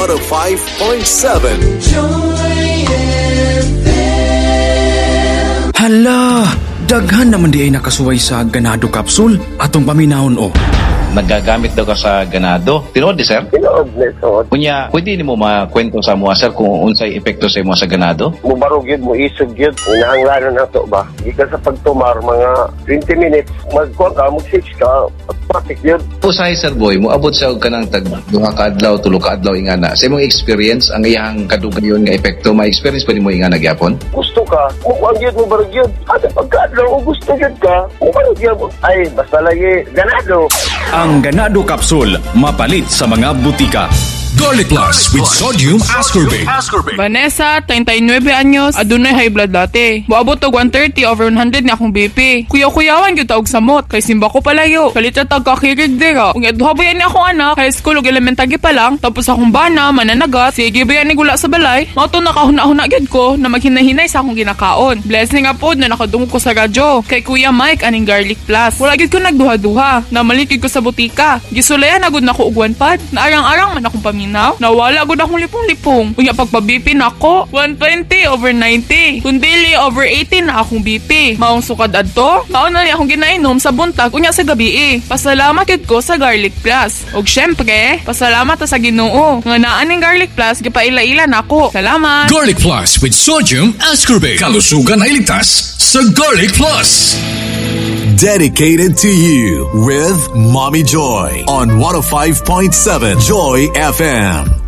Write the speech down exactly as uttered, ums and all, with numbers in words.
one oh five point seven. Joy F M. Hala, daghan naman di ay nakasuway sa Ganado Capsule. Atong paminahon o. Nagagamit daw ka sa Ganado. Tinuod di, sir? Tinuod ni, tinuod. Kunya, pwede nimo makwento sa mua, sir, kung unsay epekto sa imo sa Ganado? Mubarog yun, muisog yun. Inahanglanon na to ba? Gikan sa pagtumar, mga twenty minutes, magkuha ka, mag-six ka, automatic yun. Usahay, sir boy, moabot sa og kanang tag duha ka adlaw, tulo ka adlaw ingana. Sa imong experience, ang iyang kadugayon nga epekto, ma-experience pa nimo ingana gyapon? Gusto ka, mukuha yun, mubarog yun. At pagkaadlaw, kung gusto yun ka, mubarog yun. Ay, basta lagi, Ganado. Ang Ganado Capsule, mapalit sa mga butika. Garlic Plus with sodium ascorbate. Vanessa, treinta y nueve años, adunay high blood dati. Moabot og one thirty over one hundred ni akong B P. Kuyaw-kuyawan gyud ta og samot, kay simba ko palayo. Kalit ra tag kakirig dira. Ug duha ba ni akong anak, high school ug elementary pa lang, tapos akong bana mananagat, sige ba ni gula sa balay. Mao to nakahuna-huna gyud ko na maghinahinay sa akong ginakaon. Blessing nga pod na nakadungog ko sa radyo kay Kuya Mike aning Garlic Plus. Wala gyud ko nagduha-duha. Namalit gyud ko sa butika. Gisulayan na gud nako og one pad. Naarang-arang man akong paminaw. Nawala gud akong lipong-lipong. Unya pagpa-B P nako, one twenty over ninety. Kun dili over eighty na akong B P. Maong sukad adto, mao na ni akong ginainom sa buntag unya sa gabi eh. Pasalamat gyud ko sa Garlic Plus. Og syempre, pasalamat ta sa Ginoo nga naa ning Garlic Plus gipaila-ila nako. Salamat. Garlic Plus with sodium ascorbate. Kalusugan ay ligtas sa Garlic Plus. Dedicated to you with Mommy Joy on one oh five point seven Joy F M.